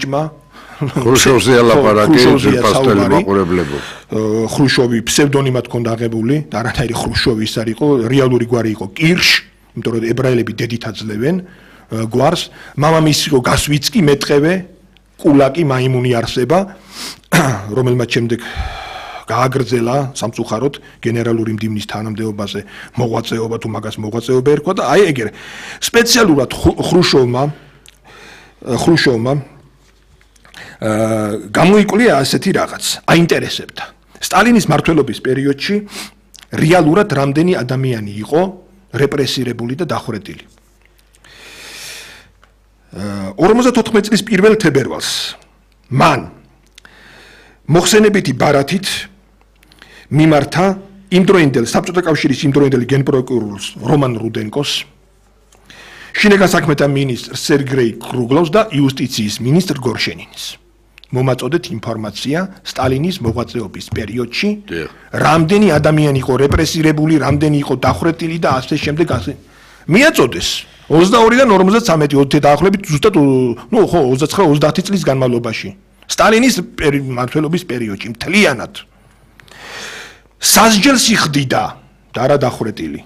ბიჭმა ხრუშოვზია ლაპარაკი ფასტელი მაყურებლებო. ხრუშოვი ფსევდონიმად ჰქონდა აღებული და არანაირი ხრუშოვი ის არ იყო, რეალური გვარი იყო კირშ, იმიტომ რომ ებრაელები დედით აძლევენ გვარს, მამამისი იყო გასვიცკი, მეტყევე, კულაკი, მაიმუნი არსება, რომელმაც შემდეგ გააგრძელა სამწუხაროდ გენერალური მდივნის თანამდებობაზე მოღვაწეობა თუ მაგას მოღვაწეობა ერქვა და აი ეგრე სპეციალურად ხრუშოვმა გამოიკვლია ასეთი რაღაც, აინტერესებდა. სტალინის მმართველობის პერიოდში რეალურად რამდენი ადამიანი იყო რეპრესირებული და დახვრეტილი. 54 წლის 1 თებერვალს მან მოხსენებითი ბარათით მიმართა იმდროინდელ საბჭოთა კავშირის იმდროინდელი გენპროკურორს რომან რუდენკოს, შინაგან საქმეთა მინისტრ სერგეი კრუგლოვს და იუსტიციის მინისტრ გორშენინს. მომაწოდეთ ინფორმაცია სტალინის მოღვაწეობის პერიოდში, რამდენი ადამიანი იყო რეპრესირებული, რამდენი იყო დახვრეტილი და ასე შემდეგ ასე. მიაწოდეს 22-დან 53 დაახლოებით ზუსტად 29-30 წლის განმავლობაში. სტალინის მმართველობის პერიოდში მთლიანად სასჯელს იხდიდა და არა დახვრეტილი.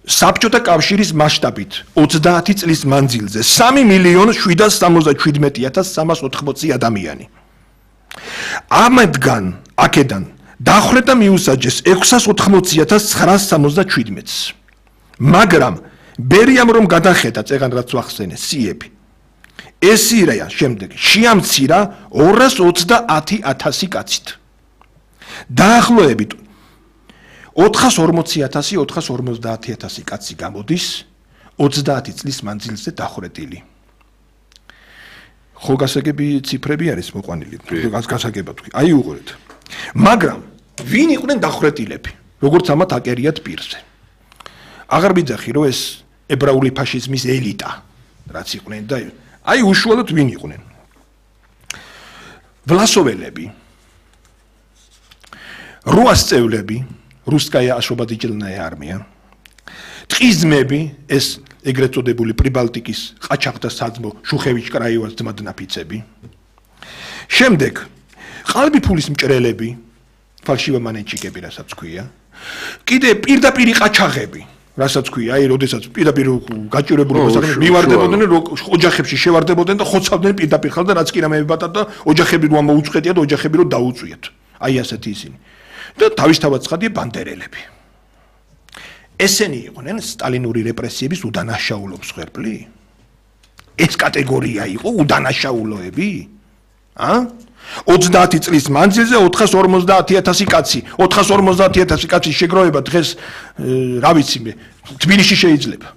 საბჭოთა კავშირის მასშტაბით 30 წლის მანძილზე 3,777,380 ადამიანი. აქედან დახვრეტა მიუსაჯეს 680,977-ს. მაგრამ ბერიამ რომ გადახედა წეგან რაც ვახსენე სიები. ეს ირია შემდეგ შეამცირა 230,000 კაცით. დაახლოებით 440,000-450,000 კაცი გამოდის 30 წლის მანძილზე დახვრეტილი. ხო გასაგები ციფრები არის მოყვანილი. გასაგებად თქვი. აი უყურეთ. მაგრამ ვინ იყვნენ დახვრეტილები? როგორც ამათ აკერიათ პირზე. აღარ მიძახი რომ ეს ებრაული ფაშიზმის ელიტა რაც იყვნენ და აი უშუალოდ ვინ იყვნენ? ვლასოველები, რუასწევლები, რუსკაია აშობადიჭელნაია არმია, ტყიზმები, ეს ეგრეთ წოდებული პრიბალტიკის ყაჩაღთა საძმო შუხევიჩ კრაიოვას ძმადნაფიცები. შემდეგ ყალბიფულის მჭრელები, ფალშივამანენჩიკები, რასაც ქვია, კიდე პირდაპირი ყაჩაღები, რასაც ქვია, აი, როდესაც პირდაპირ გაჭირებულობას მივარდებოდნენ, ოჯახებში შევარდებოდნენ და ხოცავდნენ პირდაპირ ხალხს და რაც კი რამე ებატათ და ოჯახები რომ მოუწყვეტიათ, ოჯახები რომ დაუწვიათ. აი ასეთი ისინი. და თავისთავად ცხადია ბანდერელები. ესენი იყვნენ სტალინური რეპრესიების უდანაშაულო მსხვერპლი? ეს კატეგორია იყო უდანაშაულოები? 30 წლის მანძილზე 450,000 კაცი, 450,000 კაცის შეგროვება დღეს რა ვიცი მე, თბილისში შეიძლება.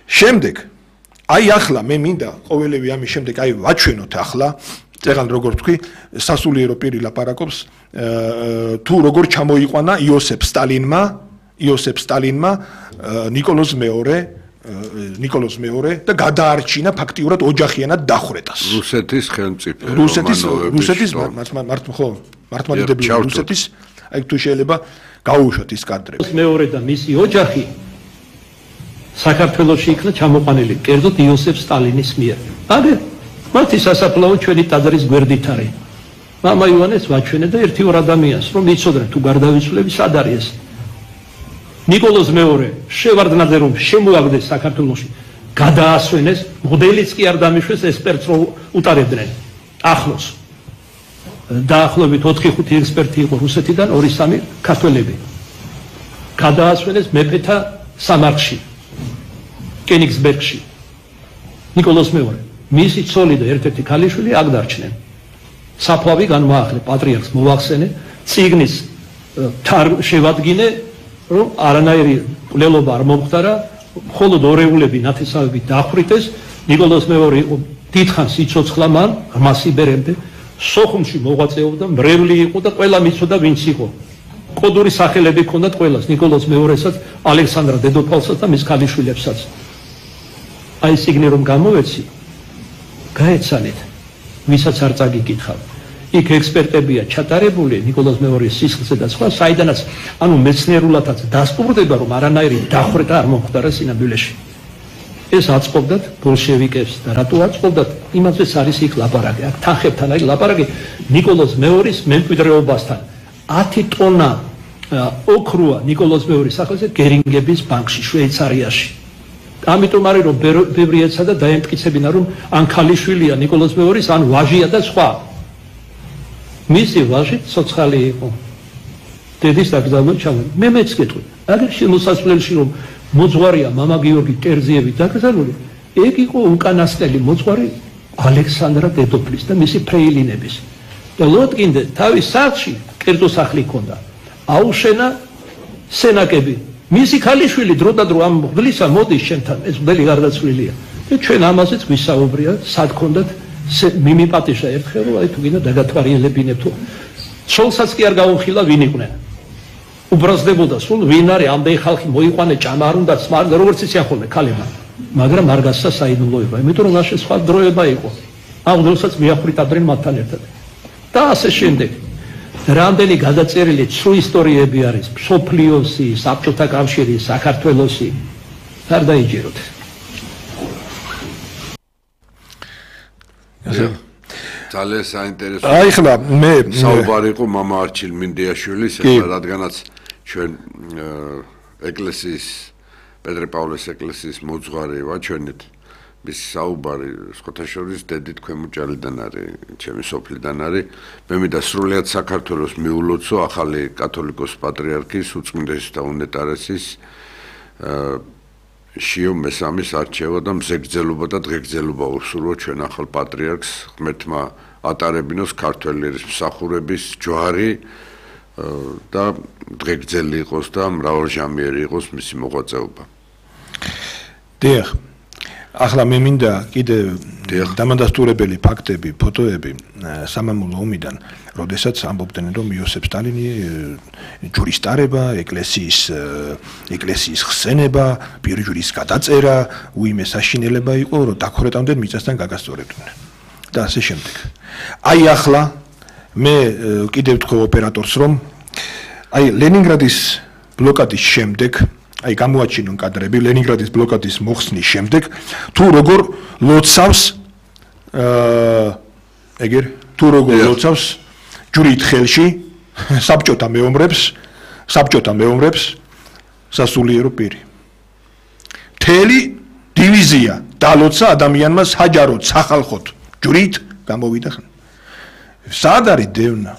შემდეგ, აი ახლა მე მინდა ყოველივე ამის შემდეგ აი ვაჩვენოთ ახლა წეგან როგორ თქვი, სასულიერო პირი ლაპარაკობს თუ როგორ ჩამოიყვანა იოსებ სტალინმა ნიკოლოზ მეორე და გადაარჩინა ფაქტიურად ოჯახიანად დახვრეტას. რუსეთის ხელმწიფე. რუსეთის მართლმადიდებლური რუსეთის, აი თუ შეიძლება გაუშვათ ის კადრები. მეორე და მისი ოჯახი საქართველოში იქნა ჩამოყვანილი კერძოდ იოსებ სტალინის მიერ. აგერ მათი სასაფლაო ჩვენი ტაძრის გვერდით არის. მამა ივანეს ვაჩვენე და ერთი-ორ ადამიანს რომ იცოდნენ თუ გარდავიცვლები სად არის ეს. ნიკოლოზ მეორე შევარდნაძე რომ შემოაგდეს საქართველოში, გადაასვენეს, მოდელიც კი არ დამიშვეს ესპერტს რომ უტარებდნენ. ახლოს. დაახლოებით 4-5 ექსპერტი იყო რუსეთიდან, 2-3 ქართველები. გადაასვენეს მეფეთა სამარხში, კენიგსბერგში. ნიკოლოზ მეორე მისი ცოლი და ერთ-ერთი ქალიშვილი აქ დარჩნენ. საფლავი განმაახლე, პატრიარქს მოვახსენე, წიგნის შევადგინე, რომ არანაირი მკვლელობა არ მომხდარა, მხოლოდ ორეულები ნათესავებით დახვრიტეს. ნიკოლოზ მეორე იყო დიდხანს იცოცხლა მან, ღმას იბერემდე, სოხუმში მოღვაწეობდა, მრევლი იყო და ყველა მიცოდა ვინც იყო. კოდური სახელები ჰქონდათ ყველას, ნიკოლოზ მეორესაც, ალექსანდრა დედოფალსაც და მის ქალიშვილებსაც. აი წიგნი რომ გამოვეცი, გაეცანეთ, ვისაც არ წაგიკითხავ. იქ ექსპერტებია ჩატარებული ნიკოლოზ მეორის სისხლზე და სხვა, საიდანაც ანუ მეცნიერულადაც დასტურდება, რომ არანაირი დახვრეტა არ მომხდარა სინამდვილეში. ეს აწყობდათ ბოლშევიკებს და რატო აწყობდათ? იმასაც არის იქ ლაპარაკი. აქ თანხებთან აი ლაპარაკი ნიკოლოზ მეორის მემკვიდრეობასთან 10 ტონა ოქროა ნიკოლოზ მეორის სახელზე გერინგების ბანკში შვეიცარიაში. ამიტომ არის რომ ბევრი ეცა და დაემტკიცებინა რომ ან ქალიშვილია ნიკოლოზ მეორის ან ვაჟია და სხვა. მისი ვაჟი ცოცხალი იყო. დედის დაკრძალვა ჩავარდა. მე მეც გეტყვი. აგერ შემოსასვლელში რომ მოძღვარია მამა გიორგი ტერზიევი დაკრძალული, ეგ იყო უკანასკნელი მოძღვარი ალექსანდრა დედოფლის და მისი ფრეილინების. და ლოტკინდე თავის სახლში კერძო სახლი ჰქონდა. აუშენა სენაკები. მისი ქალიშვილი დრო და დრო ამ მღვდლისა მოდის შენთან, ეს მღვდელი გარდაცვლილია. და ჩვენ ამაზეც გვისაუბრია, სად ქონდათ მიმიპატიშა ერთხელ, რომ აი თუ გინდა დაგათვალიერებინებთ. ცოლსაც კი არ გაუხილა ვინ იყვნენ. უბრალდებოდა სულ ვინ არის ამდენი ხალხი მოიყვანე ჭამა არ უნდა როგორც იციან ხოლმე ქალებმა, მაგრამ არ გასცა საიდუმლოება, იმიტომ რომ მაშინ სხვა დროება იყო. ამ დროსაც მიახვრით ადრე მათთან ერთად. და ასე შემდეგ. რამდენი გადაწერილი ცრუ ისტორიები არის მსოფლიოსი, საბჭოთა კავშირი, საქართველოსი. არ დაიჯეროთ. ძალიან საინტერესო. აი ხლა მე საუბარი იყო მამა არჩილ მინდიაშვილის, რადგანაც ჩვენ ეკლესიის პეტრე-პავლეს ეკლესიის მოძღვარი ვარ ჩვენით. მის საუბარი სკოთაშორის დედით ქვემოჭალიდან არის, ჩემი სოფლიდან არის. მე მინდა სრულად საქართველოს მიულოცო ახალი კათოლიკოს პატრიარქის უწმინდესი და უნეტარესის შიო მესამის არჩევა და მზეგრძელობა და დღეგრძელობა უსურვო ჩვენ ახალ პატრიარქს ღმერთმა ატარებინოს ქართველი მსახურების ჯვარი და დღეგრძელი იყოს და მრავალჟამიერი იყოს მისი მოღვაწეობა. დიახ. ახლა მე მინდა კიდე დამადასტურებელი ფაქტები, ფოტოები სამამულო ომიდან, როდესაც ამბობდნენ რომ იოსებ სტალინი ჯურისტარება, ეკლესიის ხსენება, პირჯვრის გადაწერა, უიმე საშინელება იყო, რომ დაქორეტავდნენ მიწასთან გაგასწორებდნენ. და ასე შემდეგ. აი ახლა მე კიდევ ვთქო ოპერატორს რომ აი ლენინგრადის ბლოკადის შემდეგ აი გამოაჩინონ კადრები ლენინგრადის ბლოკადის მოხსნის შემდეგ თუ როგორ ლოცავს ლოცავს ჯვრით ხელში საბჭოთა მეომრებს სასულიერო პირი. მთელი დივიზია დალოცა ადამიანმა საჯაროდ სახალხოდ ჯვრით გამოვიდა ხან. სად არის დევნა?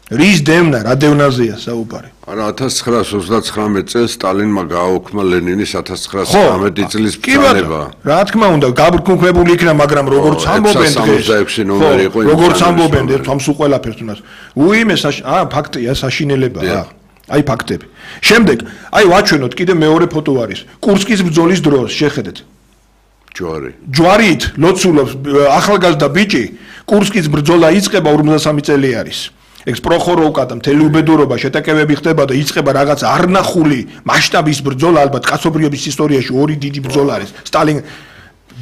რის დევნა, რა დევნაზეა საუბარი? არა 1939 წელს სტალინმა გააუქმა ლენინის 1919 წლის ბრძანება. რა თქმა უნდა, გაბრკუნებული იქნა, მაგრამ როგორც ამბობენ როგორც ამბობენ თამს უყველაფერს უნდა. უიმე ფაქტია, საშინელებაა. აი ფაქტები. შემდეგ, აი ვაჩვენოთ კიდე მეორე ფოტო არის. კურსკის ბრძოლის დროს შეხედეთ. ჯვარით ლოცულობს ახალგაზრდა ბიჭი, კურსკის ბრძოლა იწყება 53 წელი არის. ეს პროხოროვკა და მთელი უბედურობა შეტაკებები ხდება და იწყება რაღაც არნახული მასშტაბის ბრძოლა, ალბათ კაცობრიობის ისტორიაში ორი დიდი ბრძოლა არის. სტალინ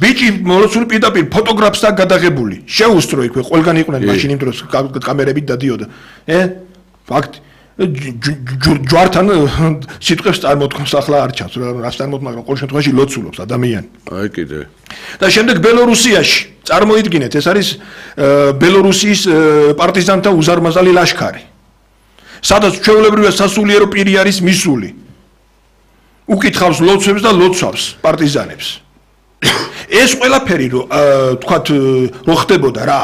ბიჭი მოლოცული პირდაპირ ფოტოგრაფსთან გადაღებული. შეუსწრო იქვე ყველგან იყვნენ მაშინ იმ დროს კამერებით დადიოდა. ფაქტი ჯვართან სიტყვებს წარმოთქმს ახლა არ ჩანს რა წარმოთქმა, მაგრამ ყოველ შემთხვევაში ლოცულობს ადამიანი. აი კიდე. და შემდეგ ბელორუსიაში წარმოიდგინეთ, ეს არის ბელორუსიის პარტიზანთა უზარმაზარი ლაშქარი. სადაც ჩვეულებრივია სასულიერო პირი არის მისული. უკითხავს ლოცვებს და ლოცვავს პარტიზანებს. ეს ყველაფერი თქვათ რო ხდებოდა რა?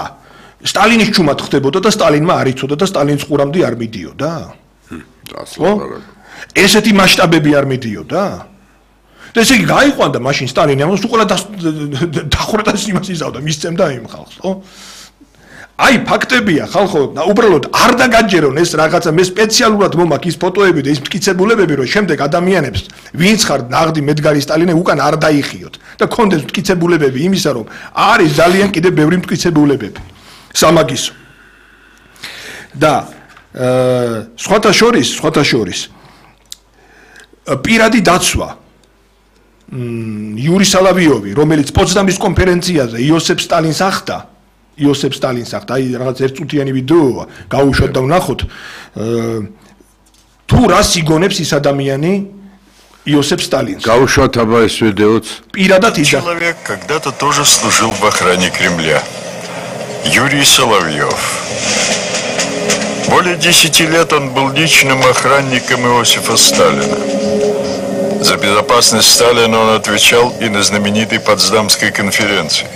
სტალინის ჩუმად ხდებოდა და სტალინმა არ იცოდა და სტალინის ყურამდე არ მიდიოდა. ესეთი მასშტაბები არ მიდიოდა. და ესე იგი გაიყვანდა მაშინ სტალინი ამას უყოლა დახურებას იმას იზავდა მისცემდა იმ ხალხს, ხო? აი ფაქტებია ხალხო, უბრალოდ არ დაგაჯერონ ეს რაღაცა, მე სპეციალურად მომაქვს ის ფოტოები და ის მტკიცებულებები, რომ შემდეგ ადამიანებს ვინც ხარ ნაღდი მედგარი სტალინე უკან არ დაიხიოთ და კონდეს მტკიცებულებები იმისა, რომ არის ძალიან კიდე ბევრი მტკიცებულებები. სამაგისო. და სხვათა შორის პირადი დაცვა იური სალავიოვი, რომელიც პოცდამის კონფერენციაზე იოსებ სტალინს ახდა, აი რაღაც ერთწუთიანი ვიდეოა, გაუშვათ და ვნახოთ, თუ რას იგონებს ის ადამიანი იოსებ სტალინს. გაუშვათ აბა ეს ვიდეოც. პირადად იდა Человек когда-то тоже служил в охране Кремля. Юрий Соловьев. Более 10 лет он был личным охранником Иосифа Сталина. За безопасность Сталина он отвечал и на знаменитой Потсдамской конференции.